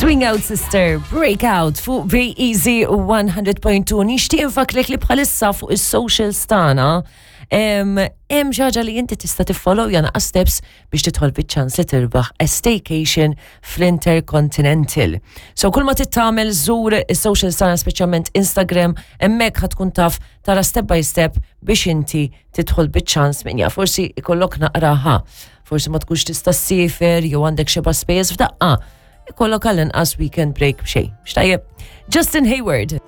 Swing Out Sister, Breakout fuq Be Easy 100.2. Nixtieq infakrek li bħalissa fuq is-socials tagħna hemm xi ħaġa li inti tista' tiffollow jana steps biex tidħol biċ-ċans li tirbaħ a staycation fl-Intercontinental. So kull ma tittamel żur is-socials tagħna speċjalment Instagram, hemmhekk ħatkun taf tara step by step biex inti tidħol biċ-ċans min jaf forsi ikollok naqraha. Forsi ma tkunx tista' ssiefer jew għandek xeba spejjeż f'daqqa. Ikollok għall-inqas weekend break b'xejn. X'tajjeb. Justin Hayward.